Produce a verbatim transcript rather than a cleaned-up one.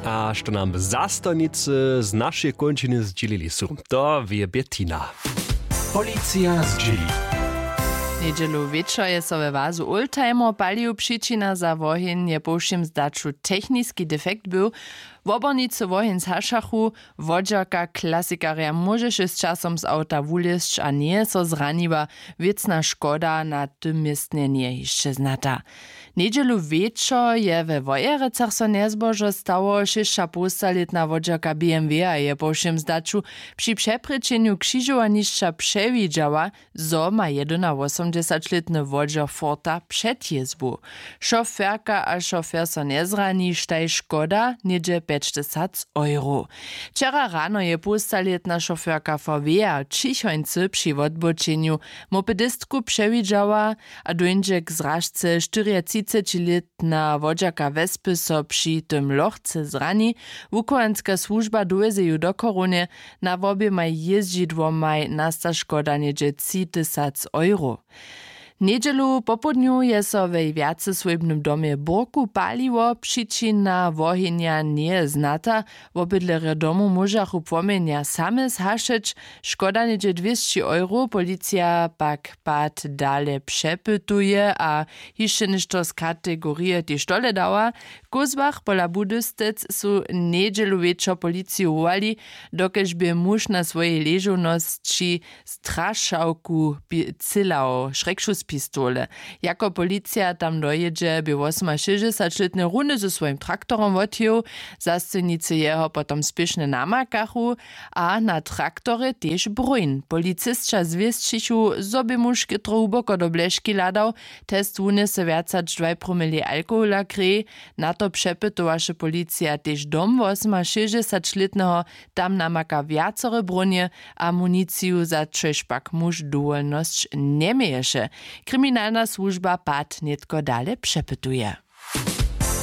A što nam zastawnicy z našeje kónčiny zdźělili su, to wě Bettina. Policija zdźěli. Njedźelu wječor je so we wazu Oldtimer palił. Přičina za woheń je po wšěm zdaću techniski defekt był. Wobornicy woheń zhašachu. Wodźerka klasikarja móžeše z časom z awta wulězć a njeje so zraniła. Wěcna škoda na tym městnje njeje hišće znata. Njedźelu wječor je we Wojerecach so njezbožo stało. Šěsćapołstalětna wodźerka B M W-a je po wšěm zdaću při přeprěčenju křižowanišća přewidźała, zo ma jedynawosomdźesaćlětny wodźer Forta před jězbu. Šoferka a šofer so njezrani, štaj škoda něhdźe pjećtysac euro. Wčera rano je połstalětna šoferka V W-a w Ćichońcy při wotbočenju mopedistku přewidźała a dóńdźe k zražce. Štyriatřicećilětna wodźerka wespy so při tym lochce zrani. Wuchowanska słužba dowjeze ju do Chorownje. Na woběmaj jězdźidłomaj nasta škoda něhdźe tři tysac euro. Njedźelu popołdnju je so we wjaceswójbnym domje burku paliło. Přičina wohenja njeje znata. Wobydlerjo domu móžachu płomjenja same zhašeć. Škoda něhdźe dwěsći euro. Policija pak pad dale přepytuje a hišće něšto z kategorije tež tohle dała. W kózłach pola Budystec su njedźelu wječor policiju wołali, dokelž bě muž na swojej ležownosći strašałku pi- cylał šrekšus pistole. Jako policija tam dojědźe, bě wosomašěsćdźesaćlětny runje ze swojim traktorom wotjěł. Zastojnicy jeho potom spěšnje namakachu a na traktorje tež broń. Policisća zwěsćichu, zo bě muž chětro hłuboko do bleški hladał. Test wunjese wjac hač dwaj promili alkohola w kreji. Na to přepytowaše policija tež dom wosomašěsćdźesaćlětneho. Tam namaka wjacore brónje a municiju, za čož pak muž dowolnosć njeměješe. Kriminalna słužba pad nětko dale přepytuje.